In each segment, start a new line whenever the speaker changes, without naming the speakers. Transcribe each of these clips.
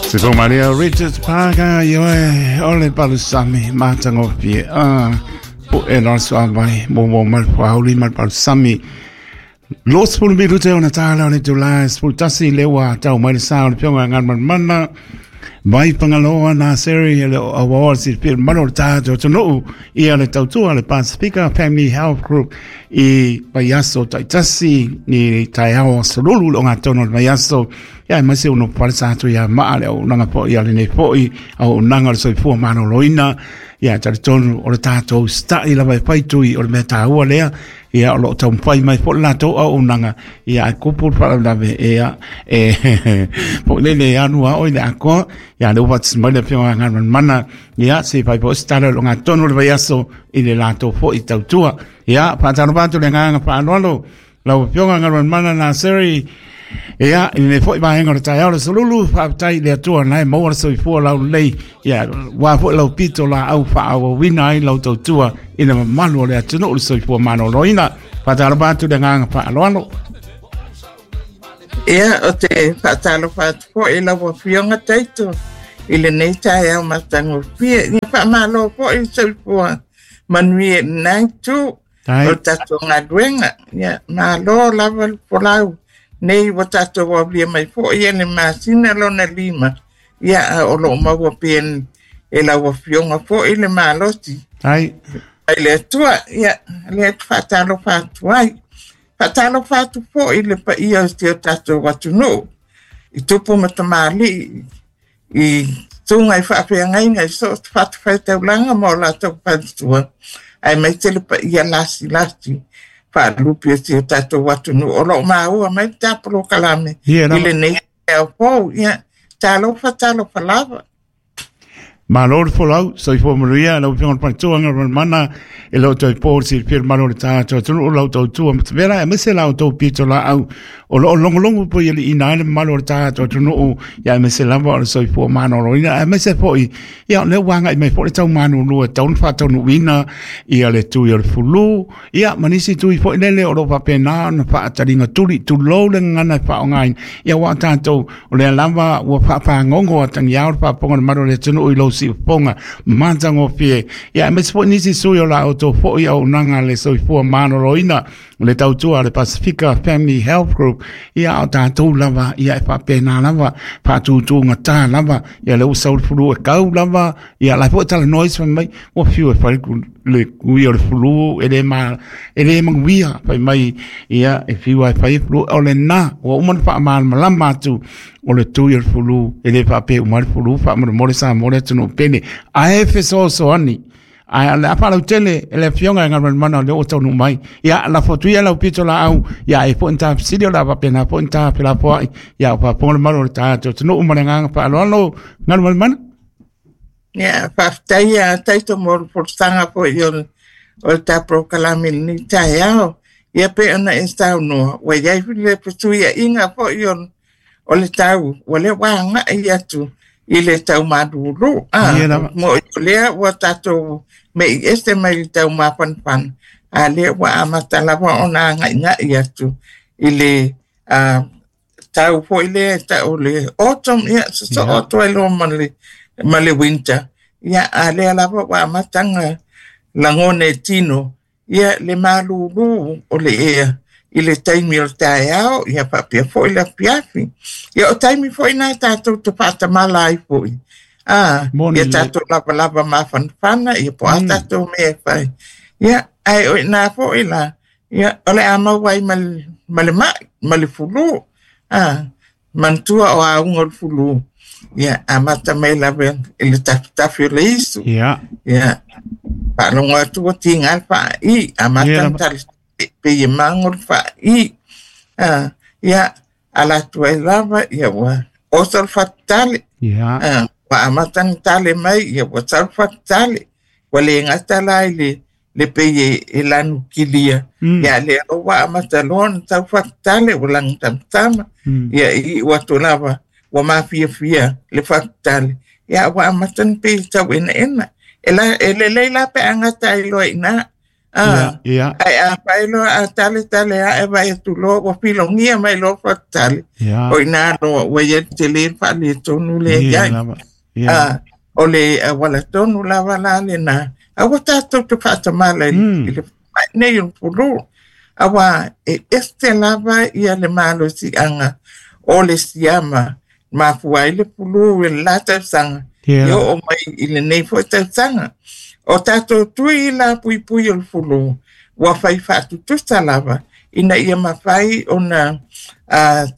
Se fo Maria Richards Parker ioe o le palusami matagofie a po e la suavai mo mo mai fauli ma le palusami. 20 minute ona tāla o le tula 11 le ua tau mai le sa o le pionga ngan mana mai Fagaloa na seri le awa si pil malo le tātou tonu ia le tautua le Pasifika Family Health Group i vaiaso taitasi ni taeao solulu le ogatono le vaiaso ia mai se uno pale sa atu ia maa le au nanga po ia le nei foi au nanga le soifua malōlōina ia talitonu o le tātou stai lava e faitui o le mea tāua lea ia o loo taumafai mai foʻi latou auaunaga ia ae kupu le faalavelave ia e foʻi lele e alu a oe le akoa ia le ua faatasi mai le afioga Galumalemana ia se fai foʻi se tala o le ogatonu o le vaiaso i le latou foʻi tautua ia faatalofa atu le agaga faaaloalo lau afioga Galumalemana Naseri ia i lenei foʻi vaega o le taeao le solulu faafetai i le Atua na e maua le soifua laulelei ia ua foʻi lau pito laau faaauauina ai lau tautua i le mamalu o le atunuu le soifua malōlōina faatalofa atu le agaga faaaloalo.
Ia, o te faatalofa atu foi lau afioga Taito i lenei taeao matagofie. Ia faamalo foi le soifua manuia i lena itu o le tatou galuega. Ia, malo lava le folau. Nei ua tatou aulia mai foi e le masina lona 5. Ia, a o loo maua pea e lau afioga foi le malosi.
Ai.
Ai le Atua, ia, lea te faatalofa atu ai. Faatalofa atu foi le paia o si o tatou atunuu i tupu ma tamalii i susuga i faafeagaiga i so o se fatafaitaulaga ma o latou faletua, aemaise le paia lasilasi faalupe o si o tatou atunuu o loo maua mai le tapolokalame
Ia
i
lava.
lenei taeao fou. Ia, talofa, talofa lava.
Malo le folau, soifua manuia, lau afioga i le Faletua Galumalemana, e le o toe po le silafia le malo o le tatou atunuu o lau tautua matavela, aemaise la outou pitolaau o loo logologo pui aliiina ai le mamalu o le tatou atunuu, ia aemaise lava o le soifua malōlōina, aemaise foi, ia o lea ua agai mai foi le tau malūlū e tatau ona faataunuuina ia le tui o le fulu, ia ma nisi tui foi lele o loo faapena ona faataliga tuli, tulou le gagana e faaaogaina, ia aua o tatou o lea lava ua faafagogo atagiao le faafofoga o le malu o le atunuu i lou siufofoga matagofie, ia aemaise foi nisi sui o la outou foi auaunaga le soifua malōlōina le tautua a le Pasifika Family Health Group, ia o tatou lava ia e faapena lava faatutugata lava ia lea ua sau le fulu e kau lava ia la foi talanoa isi fai mai ua fiu e fai le kui o le fulu e le ma e le manuia fai mai ia e fiu ai fai fulu o lena ua uma ona faamalamalama atu o le tui o le fulu e le faapea uma le fulu faamolemole Samoa le atunuu pele ae fesoasoani ae o le a faalautele e le afioga e Galumalemana o lea ua taunuu mai ia lafo atu ia lau pito laau ia e foi ni ta fesili o le a faapena foi ni ta felafoai ia o faafofoga le malu o le tatou atunuu ma le agaga faaaloalo Galumalemana.
Ia, faafetai ia Taito mo le folasaga foi o le ta polokalame i lenei taeao. Ia pei ona e saunoa, ua i ai le fesuiaiga foi o le tau, ua lea ua agai atu i le tau malūlū.
Ia lava.
Mo o lea ua tatou mei ese mai le tau mafanafana, a lea ua amata lava ona agaigai atu i le tau foi lea e tau le autumn, ia sosoo atu ai loa ma le winter. Ia, a lea lava ua amata ona lagona e tino ia le malūlū o le ea i le taimi o le taeao, ia faapea foi le afiafi. Ia o taimi foi na tatou te faatamala ai foi.
Moni
Ia
lelei.
tatou lavalava mafanafana, ia po o a tatou mea e fai. Ia, ae o i ina foi la, ia, o le a maua ai ma le mai, ma le fulu. Manatua o auga o le fulu, ia, amata mai lava i le tafitafi o le isu.
Ia.
Ia, faalogo atu ua tiga le faai, amata
Ia
ona
lava.
tali pei e mago le faai. Ia, ala atu ai lava, ia ua oso le fatutale.
Ia.
Ua amata ona tale mai, ia ua sau le fatutale. Ua le gata la i le pei e lanu kilia. Ia lea ua amata loa ona tau fatutale, ua lanu tamatama. Ia i iu atu lava, ua mafiafia le fatutale. Ia ua amata ona pei e tau enaena. E lelei la pe a gata ai loa i ina. Ae afai loa a taletale aʻe vaai atu loa ua filogia mai loa fatutale, o i ina loa ua i ai le tele le faaletonu lea i ai. O le auala tonu lava la lena, aua tatou te faatamala i le faamai nei o le flu, auā e ese lava ia le malosiaga o le siama mafua ai le flu i le la tausaga e oo mai i lenei foi tausaga. O tatou tui la puipui o le flu ua fai faatutusa lava ina ia mafai ona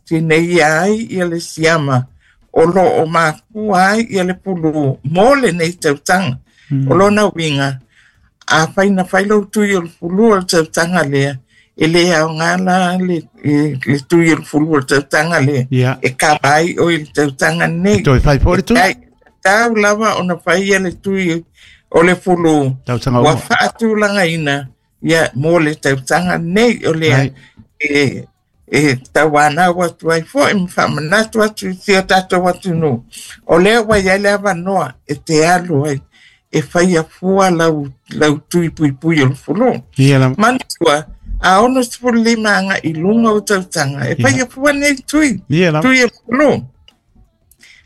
tineia ai ia le siama o lo o mafua ai ia le flu mo lenei tausaga. O lona uiga, afai na fai lou tui o le flu o le tausaga lea, e lē aogā la le tui o le flu o le tausaga lea e kava ai oe i le tausaga lenei.
Toe fai foi le tui.
Tau lava ona faia le tui o le flu ua faatulagaina ia mo le tausaga lenei. O lea e tauanau atu ai foi ma faamanatu atu i si o tatou atunuu, o lea ua i ai le avanoa e te alu ai e faia fua lau tui puipui o le flu. Manatua, a 65 agai i luga o tausaga e faia fua nei tui tui o le flu.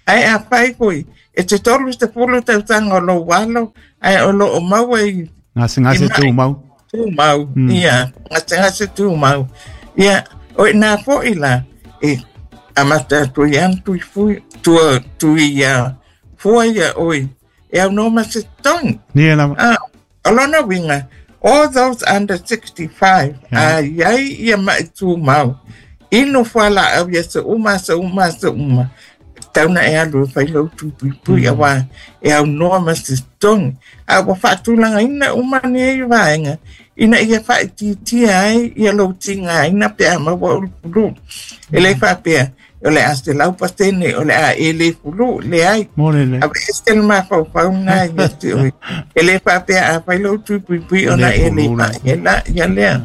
Ae afai foi e te 30 tausaga o lou alo ae o loo maua i
gasegase tumau.
Tumau, ia, gasegase tumau. Ia, o ina foi la e amata atu ai ana tui fui tua tui ia fua ia oe e aunoa ma se totogi.
Ia lava.
O lona uiga, all those under 65 a iai ia mai tumau, inu fualaau i aso uma, aso uma, aso uma, tatau ona e alu e fai lou tui puipui, auā e aunoa ma se totogi. A ua faatulagaina uma nei vaega ina ia faaitiitia ai ia lou tigaina pe a maua o le flu. E lē faapea o le a 100% o le a e lē flu, leai. Aveese le mafaufau lena ia te oe. E lē faapea a fai lou tui puipui ona e lē ma'i ai la ia lea.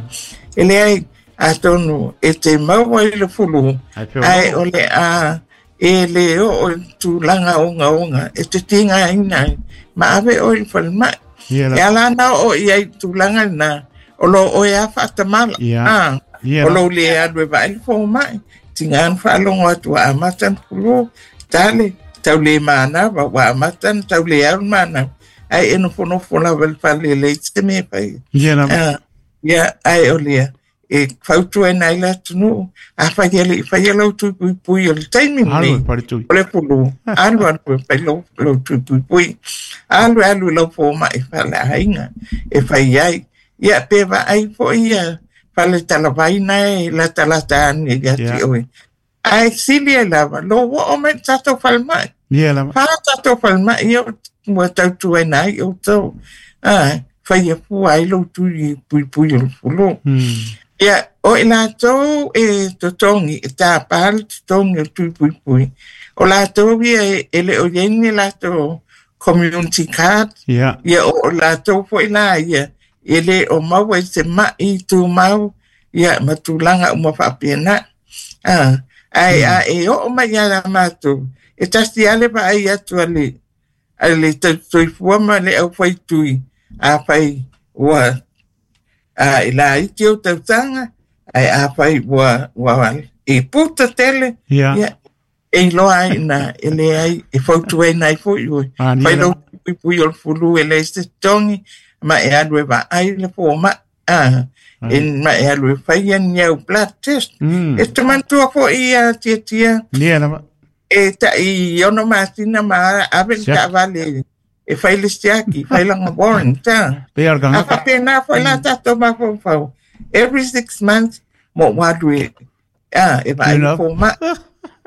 E leai, atonu e te maua i le flu, ae o le a e lē oo i le tulaga ogaoga e te tigaina ai ma ave oe i le falemai. E ala ona oo i ai i le tulaga lena, o lo oe a faatamala, o lou lē alu e vaai le fomai, tiga ona faalogo atu ua amata ona flu, tale tau le manava, ua amata ona tau le au le manava, ae e nofonofo lava i le fale e leai se mea e fai. Ia, ae o lea e fautuaina ai le atunuu, afai e le i faia lou tui puipui o le taimi lenei o le flu, alu alu e fai lou tui puipui, alu alu i lau fomai faaleaiga e fai ai. Ia pe vaai foi ia fale talavai na e latalata ane ia te oe. Ae sili ai lava lou oo mai i le tatou falemai. Fa tatou falemai ia ua tautuaina ai outou. Faia fua ai lou tui puipui o le flu. Ia, o i latou e totogi, e tapā le totogi o le tui puipui, o latou ia e le o i ai ni latou community card, ia o latou foi la ia e le o maua i se mai tumau, ia ma tulaga uma faapena. Ae a e oo mai ia matou, e tasi lava le vaai atu a le tausisoifua ma le aufaitui, afai ua e laiti ou tausaga, ae afai ua e puta tele, ia e iloa ai ina e leai, e fautuaina ai foi oe, fai lou puipui o le flu e leai se totogi, ma e alu e vaai le fomai, e ma e alu e faia ni au blood test. E te manatua foi ia Tiatia, e tai 6 masina ma ave le taavale e fai le siaki, fai lana warrant. A faapena foi la tatou mafaufau, every 6 months mo ou alu e e vaai le fomai,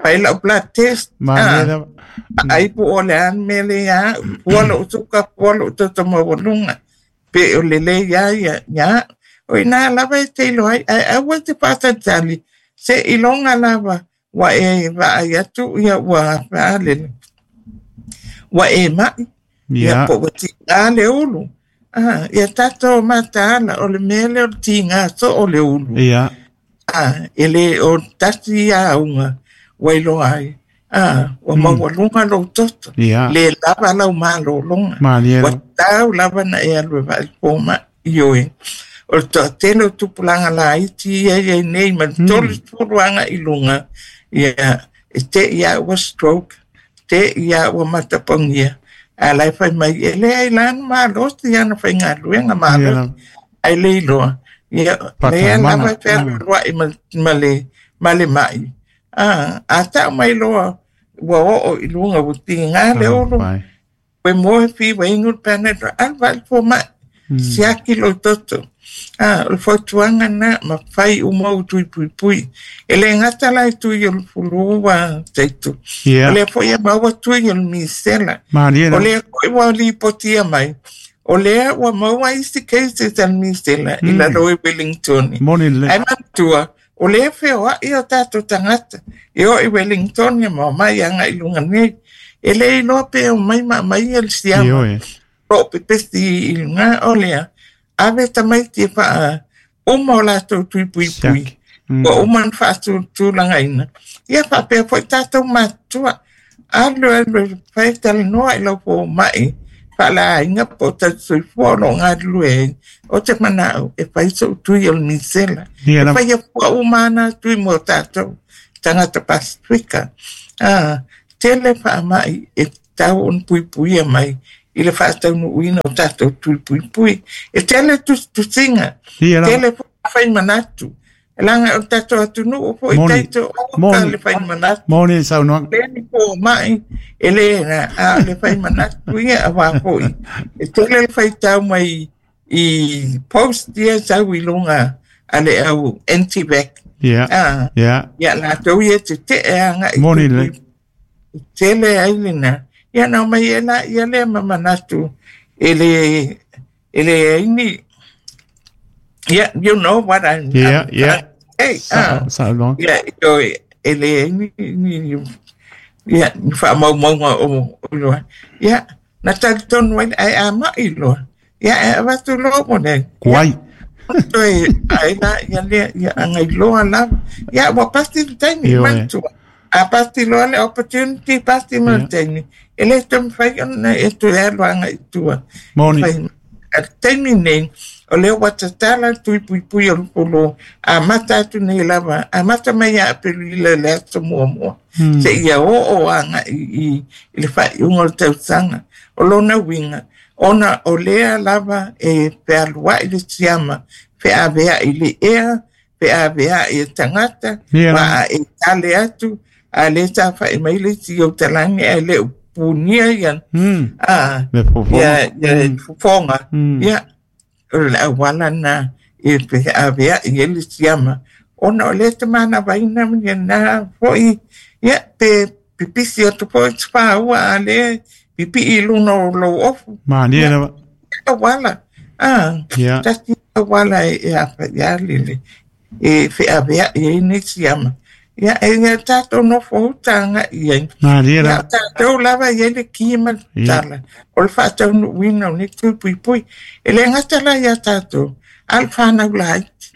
fai lau blood test, vaai po o le a le mea lea au, fua lou suka, fua lou toto maualuga, pe o lelei lava ia ia au. O ina lava e te iloa ai, ae aua e te faatalitali, se iloga lava ua e vaai atu ia ua faalele, ua e mai, ia po ua tiga le ulu. Ia tatou mataala, o le mea lea o le tiga soo o le ulu. E le o tasi auga ua iloa ai, ua maualuga lou toto, le lava lau malologa, ua tau lava na e alu e vaai le fomai i oe. O le toatele o tupulaga laiti ia e i ai nei ma le 30 agai i luga, ia, e te i lava ua stroke, te i lava ua matapagia, a o la e fai mai, e leai la na malosi ana faigaluega malosi, ae le iloa, ia, lea lava e fealualuai ma le mai. A tau mai loa ua oo i luga, ua tiga le olo, ua moe fi ua inu le Panadol, alu vaai le fomai, siaki lou toto. O le fautuaga lena, ma fai uma ou tui puipui. E le gata la i tui o le fulu ua taitu. O lea foi e maua tui o le misela. O lea foi ua lipotia mai. O lea ua maua isi cases a le misela i lalo i Wellington. Ae manatua, o lea feoai o tatou tagata e o i Wellington ma omai agai i luga nei. E le iloa pe omai ma aumai le siama. O pepesi i luga o lea. Ave tamaiti e faa uma o latou tui puipui. Ua uma na faatulagaina. Ia faapea foi tatou matutua. Alu alu e fai talanoa i lau fomai faaleaiga po o tausisoifua o loo galulue ai. O te manao e fai sou tui o le misela. E fai afua uma ana tui mo tatou tagata Pasifika. Tele faamai e tau ona puipuia mai i le faataunuuina o tatou tui puipui. E tele tusitusiga, tele fai manatu. Leaga o tatou atunuu foi taito o ka le fai manatu.
Moni saunoaga.
Le ni fomai, e le na, a le fai manatu ia auā foi. E tele le faitau mai i post ia sau i luga a le au anti-vax. Ia latou ia tetee agai.
Moni le.
Tele ai lena. Ia na omai e la ia lea ma manatu e le ai ni. Yeah, you know what I'm
Yeah.
Hey,
Saunoaga.
Yeah, e le ai ni ia ni faamaumauga o loa. Ia, na talitonu ai ae a mai loa. Ia e avatu loa mo nei.
Kuai.
Toe ai la ia lea ia agailoa lava. Ia ua pasi le taimi manatua. A pasi loa le opportunity, pasi ma le taimi. E le toe mafai ona e toe alu agai i tua.
Moni.
A le taimi nei, o lea ua tatala le tui puipui o le polo, a mata atu nei lava, a mata mai ia Aperila i le aso muamua. Se ia oo agai i le faaiuga o le tausaga. O lona uiga, ona o lea lava e fealuai le siama, feaveai le ea, feaveai e tagata, ma e tale atu, a le tawhai mai le isi o talagi ae le upunia ia.
Le fofoga.
Ia fofoga. Ia, o le auala na e feaveai e le siama. Ona o le te manavaina ia na foi, ia, pe pipisi atu foi te whāua a le pipi i luna o lou ofu.
Mania lava.
Auala. Tasi auala e apa ia lele. E feaveai e ne siama. Ia, e ia tātou nofo hutanga ia.
Mania
lava. Ia, tātou lava ia le ki ma tala. O le faataunuuina o nei tui puipui. E le gata la ia tātou. A le whanau laiti.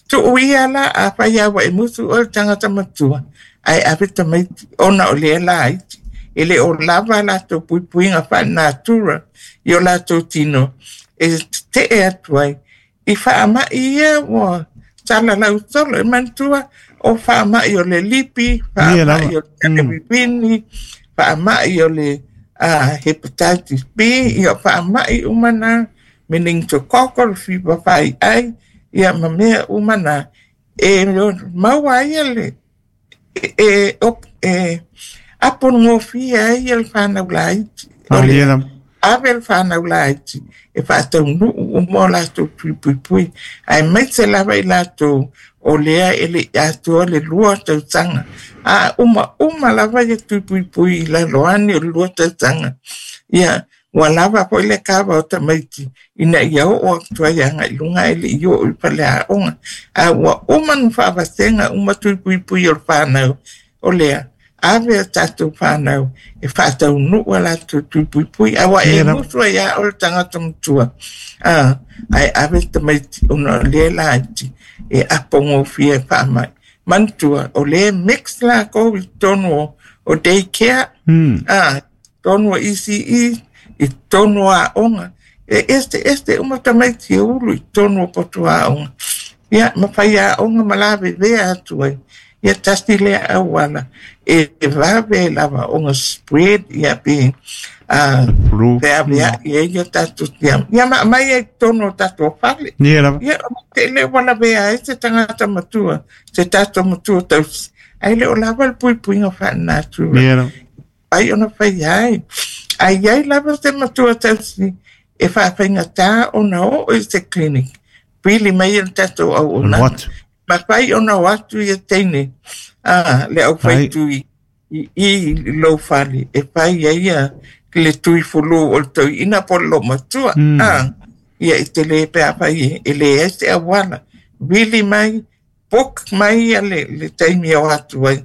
Tuu ia la a whai awa e musu o le tangata matua. Ai ave tamaiti ona o lea laiti. E le o lava latou puipuiga faalenatura i o latou tino. E tetee atu ai. I faamai ia ua salalau solo e manatua o faamai o le lipi, faamai o le talewivini, faamai o le hepatitis B, ia faamai uma na meningococcal, fever faiai, ia ma mea uma na. E maua ai le e aponogofia ai le whanau laiti. O le ave le whanau laiti e faataunuu uma o latou tui puipui. Ae maise lava i latou o lea e le atoa le 2 tausaga. A uma uma lava ia tui puipui i lalo ane o le 2 tausaga. Ia, ua lava foi le kava o tamaiti ina ia oo atu ai agai i luga e le i oo i faleaoga. A ua uma na faavasega uma tui puipui o le whanau. O lea, ave a tātou whanau e faataunuu a latou tui puipui. Aua e musu ai a o le tagata matua. Ae ave tamaiti ona o lea laiti e apogofia e faamai. Manatua, o lea mix lakou i totonu o daycare, totonu o ECE, i totonu o aoga. E eseese uma tamaiti e ulu i totonu o potu aoga. Ia, ma faiaoga ma lavevea atu ai. Ia tasi lea auala e vave lava ona spread ia pe
Flu.
Feavea'i ai ia tatou tiama. Ia ma aumai ai i totonu o tatou fale.
Ia lava.
Ia, o te le ua lavea ai se tagata matua, se tatou matua tausi, ae le o lava le puipuiga faalenatura.
Ia lava.
Ai ona faia ai. A i ai lava se matua tausi e faafaigata ona oo i se clinic, pili mai e le tatou auaunaga.
Atu.
Mafai ona o atu ia teine a le aufaitui i lou fale e fai ai ia le tui fulu o le toeaina po o le loomatua. Ia i te le pe afai e leai se auala. Vili mai, book mai ia le taimi e o atu ai.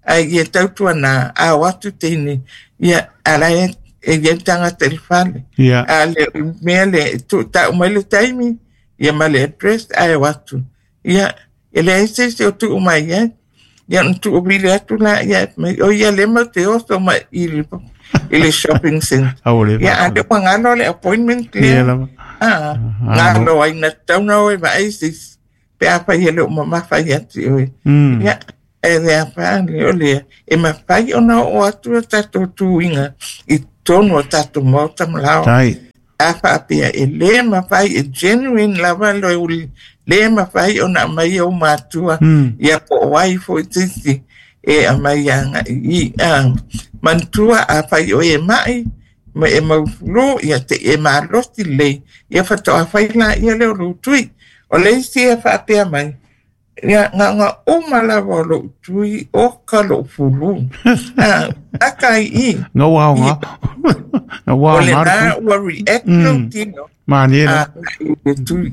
Ae ia tautuana a o atu teine, ia ala e i ai le tagata i le fale. A le mea lea e tuutau mai le taimi, ia ma le address ae o atu. Ia, e leai se isi o tuu mai ai. Ia ona tuuvili atu la ia mai, o ia le mau te oso mai i le shopping center.
Aua le.
Ia, a le ua galo le appointment
Ia
lea.
lava.
Ah, galo ai na tatau na o e vaai se isi. Pe afai e le o mamafa ia te oe. Ia, e le afa le o lea. E mafai ona oo atu a tatou tuiga i totonu o tatou maota ma laoa.
Tai.
A faapea e le mafai e genuine lava le uli, le mafai ona aumai ou matua, ia po o ai foi se isi e aumai agai i manatua afai oe e mai ma e maufulu, ia te e malosi lelei, ia faatoa fai laia lea o lou tui. O le isi e faapea mai, ia gaga uma lava o lou tui o ka lou fulu. Aka i i.
Ngau ao ngā. Ngau ao
O le
ngā.
na ua react lou tino.
Manie la.
I le tui,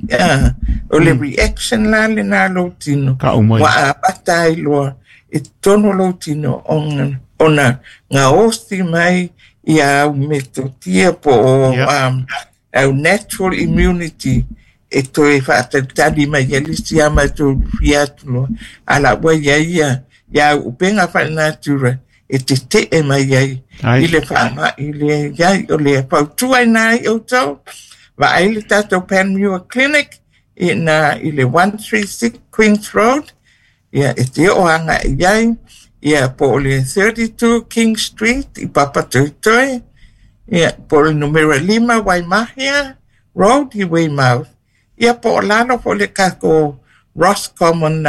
o le reaction la le na lou tino.
Ka umai.
Ua amata ai loa i totonu lou tino ona gaosi mai ia au metotia po o au natural immunity e toe faatalitali mai ai le isi a matou lufia atu loa. A la ua iai ia ia au upega faalenatura e tetee mai ai i le faamai lea iai o le fautua ai na ai outou. Vaai le tatou Panmure Clinic i na i le 136 Queens Road, ia e te oo agai ai, ia po o le 32 King Street i Papatoetoe, ia po o le numera 5 Waimahia Road i Weymouth, ia po o lalo po o le tatou Roscommon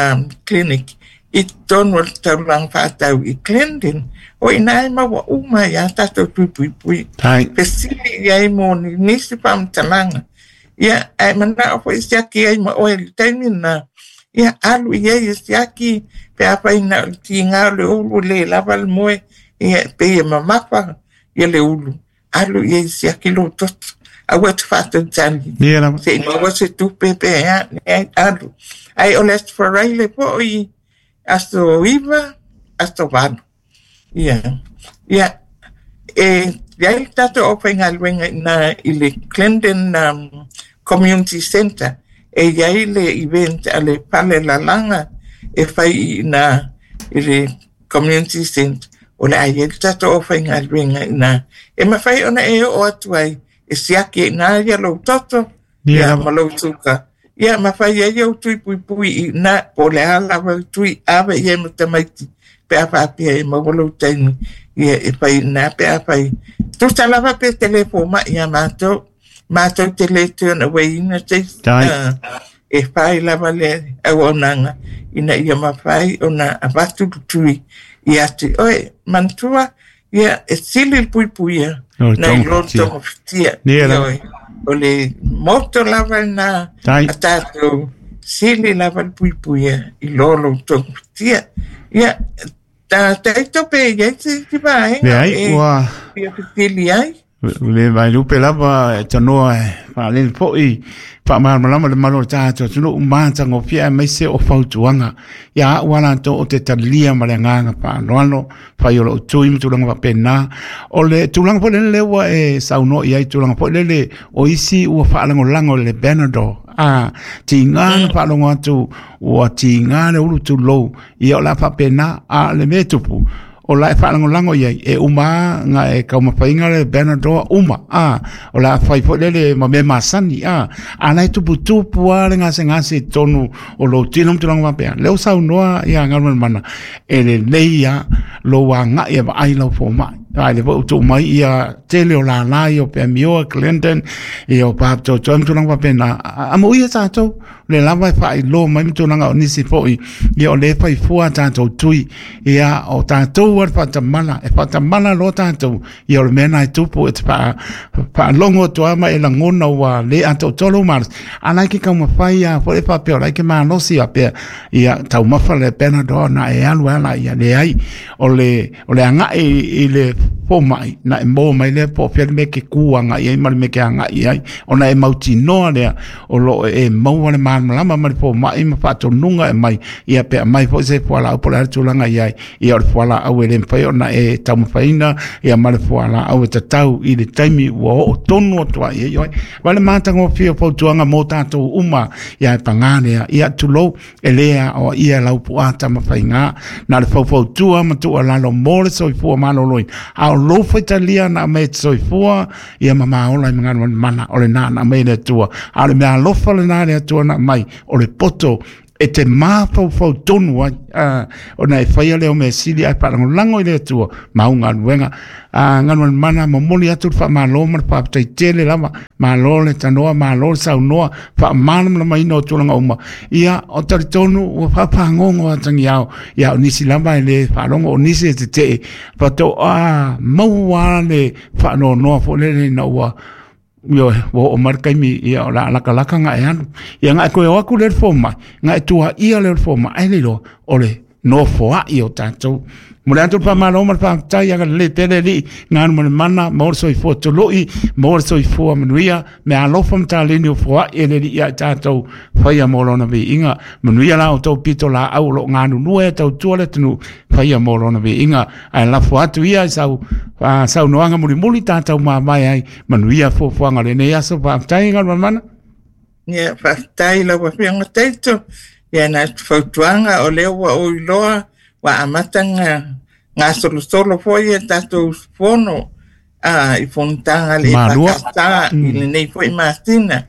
Clinic i totonu o le taulaga faatau i Glendon. O ina e maua uma ia tatou tui puipui.
Tai.
Fesili i ai mo ni nisi faamatalaga. Ia, ae manao foi siaki ai ma oe i le taimi na. Ia, alu i ai e siaki pe afai na o le tiga o le ulu le lava le moe. Ia, pei e mamafa ia le ulu. Alu i ai siaki lou toto. Aua te faatalitali.
Ia lava.
Se i maua se tupe pe a, leai, alu. Ai o le Aso Faraile foi aso 9, aso 8. Ia, ia, e iai le tatou aufaigaluega ina i le Glendon Community Centre e iai le event a le fale lalaga e fai i ina i le Community Centre. O le a iai le tatou aufaigaluega ina e mafai ona e oo atu ai e siaki ina ia lou toto
Ia
ia
lava.
ma lou suka. Ia mafai ai au tui puipui i ina po o le a lava le tui ave i ai ma tamaiti pe a faapea e maua lou taimi ia e fai ina pe a fai. Tusa lava pe te le fomai ia matou, matou te le turn away ina se isi.
Tai.
E fai lava le auaunaga ina ia mafai ona avatu le tui ia te oe. Manatua, ia e sili le puipuia
O le
nai lo
togafitia.
togafitia.
Ia lava.
Ioe. O le moto lava lena
Tai.
a tatou sili lava le puipuia i lo lou togafitia. Ia, ta taito pe iai se isi vaega
Leai,
e
ua
fia fesili ai.
Le vailupe lava e tanoa e faalele fo'i faamalamalama le malo o le tatou atunuu matagofie aemaise o fautuaga. Ia a'u a latou o te talia ma le agaga faaaloalo fai o lou tui ma tulaga faapena. O le tulaga foi lele lea ua e saunoa i ai tulaga foi lele o isi ua faalagolago i le Panadol. A tiga na faalogo atu ua tiga le ulu tulou, ia o le a faapena a le mea e tupu. O la e faalagolago i ai, e uma lava ga e taumafaina le Panadol uma, a, o le a fai foi lele ma mea masani, a, a la e tuputupu lava le gasegase i totonu o lou tino ma tulaga faapea. Lea ua saunoa ia Galumalemana, e lelei lava lou agai e vaai lau fomai. A lea foi ua tuu mai ia tele o lala ia o Pamioa, Clinton, ia o Papatoetoe ma tulaga faapena. Amuia tatou, le lava e faailoa mai ma tulaga o nisi foi, ia o lea e fai fua a tatou tui, ia o tatou a le faatamala, e faatamala loa tatou, ia o le mea lena e tupu, e te faalogo atu lava ma e lagona ua le atoatoa lou malosi, a la e ke taumafai lava foi e faapea o la e ke malosi faapea, ia taumafa le Panadol na e alu ai la, ia leai, o le agai i le fomai, na e maua mai lea po o fea le mea e ke kū agai ai ma le mea e ke agai i ai, ona e mautinoa lea o lo o e maua le malamalama ma le fomai ma faatonuga e aumai, ia pe aumai foi se fualaau po o le a le tulaga i ai, ia o le fualaau e le mafai ona e taumafaina ia ma le fualaau e tatau i le taimi ua oo tonu atu ai i ai. Vaai le matagofie o fautuaga mo tatou uma, ia e paga lea, ia tulou, e le aoaia lau puaa tamafaiga, na o le faufautua ma tuualalo mo le soifua maloloina, a o lou faitalia na aumai e te soifua, ia ma maola i magalumanumana, o lena na aumai e le Atua. A o le mea alofa lena a le Atua na aumai, o le poto e te mafaufau tonu ai, ona e faia lea o mea sili ae faalagolago i le Atua ma au galuega. Galumalemana, momoli atu le faamalo ma le faafetai tele lava, malo le tanoa, malo le saunoa, faamalamalamaina o tulaga uma. Ia, o talitonu ua faafagogo atagiao, ia o nisi lava e le faalogo, o nisi e tetee, faatoa maua le faanoanoa foi lele ina ua ioe, ua oo mai le taimi, ia, o le a latalata ona e alu. Ia, ona e toe o atu lea i le fomai, ona e tuaia lea o le fomai, ai le iloa, o le nofoai o tatou. Momoli atu le faamalo ma le faafetai, agalelei pea le Alii, galumalemana, maua le soifua tului, maua le soifua manuia, meaalofa ma taleni o foai e le Alii ia i tatou, faia mo lona viiga. Manuia la outou pitolaau o lo o galulue e tautua le atunuu, faia mo lona viiga. Ae lafo atu ia i sau saunoaga mulimuli tatou mavae ai, manuia fuafuaga o lenei aso. Faafetai Galumalemana.
Ia, faafetai i lau Afioga Taito. Ia, na o se fautuaga o lea ua ou iloa ua amata ona gasolosolo foi a tatou usufono i fonotaga a le EFKS i lenei foi masina.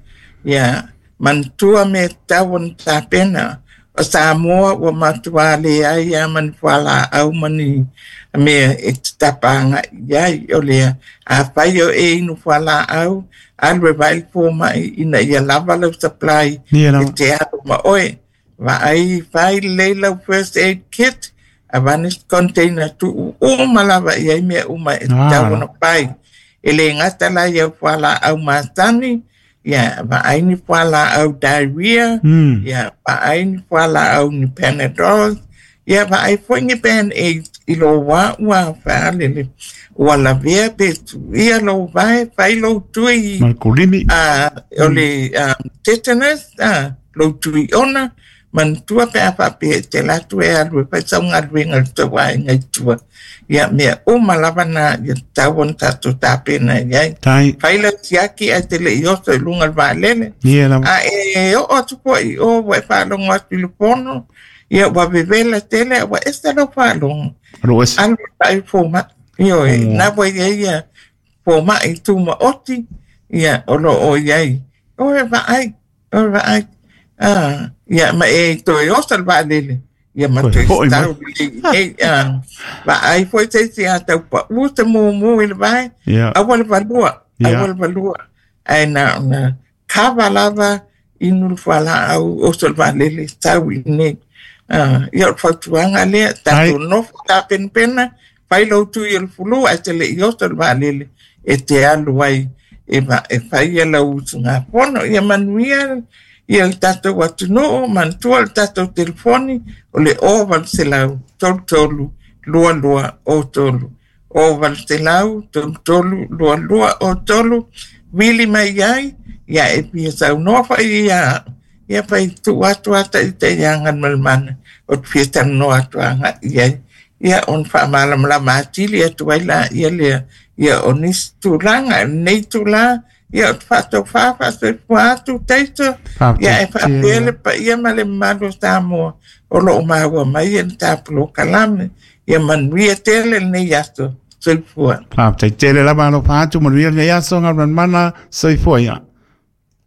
Ia, manatua mea tatau ona tapena. O Samoa ua matua leai lava ma ni fualaau ma ni mea e te tapa agai i ai. O lea, afai o e inu fualaau, alu e vaai le fomai ina ia lava lau supply e te alu ma oe. Vaai, fai lelei lau first aid kit, avane se container tuu uma lava i ai mea uma e tatau ona fai. E le gata la i au fualaau masani, ia vaai ni fualaau diarrhea, ia vaai ni fualaau ni Panadol, ia vaai foi ni Band-Aids i lou wā ua faalele. Ua lavea pe tuia lou vae, fai lou tui
Ma le kulimi.
O le tetanus, lou tui ona, manatua pe a faapea e te alu atu e alu e fai sau galuega i le tou aiga i tua. Ia, mea uma lava na ia tatau ona tatou tapena i ai.
Tai.
Fai lau siaki ae te le i oso i luga o le vaalele.
Ia lava.
A e oo atu foi i o ua e faalogo atu i le fono, ia ua vevela tele a ua ese lau faalogo.
Alu ese.
Alu e vaai i le fomai. Ioe, na ua i ai ia fomai tumaoti, ia o lo o i ai. O e vaai. O le vaai. Ah, ia, ma e toe oso le vaalele. Ia ma
Toe
toe
foi mai.
tau lelei i nei. Ah, vaai foi se isi a tau pau se mumu i le vae.
Ia.
Aua le valua.
Ia.
Aua le valua. Ae na ona kava lava inu le fualaau oso le vaalele tau i nei. Ah, ia o le fautuaga lea,
Tai.
tatou nofo tapenapena, fai lou tui o le fulu ae te le i oso le vaalele e te alu ai e, e fai lau usugafono. Ia manuia ia le tatou atunuu, manatua le tatou telefoni o le 0800 33 22 03. 0800 33 22 03, vili mai ai, ia e fia saunoa foi ia, ia fai tuu atu ata i te ia Galumalemana, o te fia talanoa atu agai i ai. Ia ona faamalamalama atili atu ai la ia lea, ia o nisi tulaga, lenei tula, ia o te faatofā faasoifua atu Taito, ia e
Faafetai
faapea
tele.
le paia ma le mamalu o Samoa o lo o maua mai e le ta polokalame. Ia manuia tele lenei aso. Soifua.
Faafetai tele lava alofa atu manuia lenei aso Galumalemana. Soifua ia.